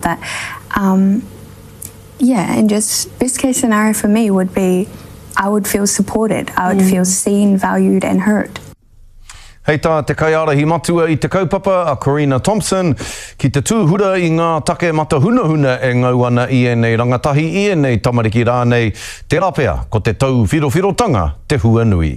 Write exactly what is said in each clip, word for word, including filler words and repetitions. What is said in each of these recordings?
That. Um, yeah, and just best case scenario for me would be I would feel supported, I would mm. feel seen, valued and heard. Hei tā te kaiārahi matua i te kaupapa a Corina Thompson ki te tūhura i ngā take matahunahuna e ngau ana i ēnei rangatahi, i ēnei tamariki rānei, tērā pea ko te tauwhirowhirotanga te huanui.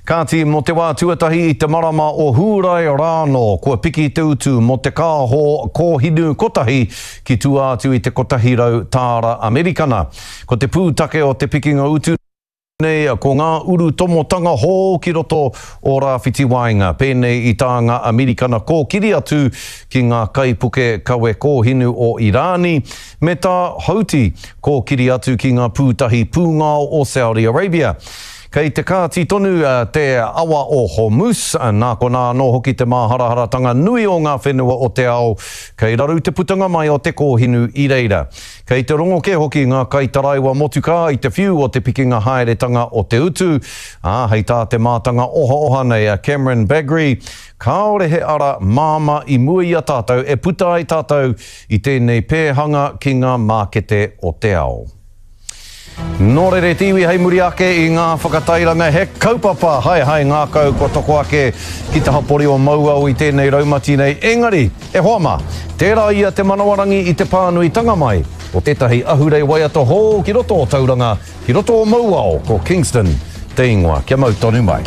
Kāti, mō te wā tuatahi i te marama o Hūrae rānō, kua piki te utu mō te kāho kōhinu kotahi ki tua atu i te kotahi rau tāra Amerikana. Ko te pūtake o te pikinga utu nei ko ngā urutomotanga hou ki roto o Rāwhiti Waenga, pēnei i tā ngā Amerikana kōkiri atu ki ngā kaipuke kawe kōhinu o Irāni, me tā Houthi kōkiri atu ki ngā pūtahi pūngao o Saudi Arabia. Kei te kāti tonu te awa o Hormuz, nā konā anō hoki te māharaharatanga nui o ngā whenua o te ao, kei raru te putanga mai o te kōhinu i reira. Kei te rongo kē hoki ngā kaitaraiwa motukā i te whiu o te pikinga haeretanga o te utu, ā, hei tā te mātanga ohaoha nei a Cameron Bagrie, kāore he ara māmā i mua i a tātou e puta ai tātou i tēnei pēhanga ki ngā mākete o te ao. Nō reira te iwi hei muri ake i ngā whakatairanga he kaupapa haehae ngākau kua toko ake ki te hapori o Mauao i tēnei raumati nei. Engari, e hoa mā, tērā ia te manawarangi i te pānuitanga mai o tētahi ahurei waiata hou ki roto o Tauranga, ki roto o Mauao, ko Kingston te ingoa. Kia mau tonu mai.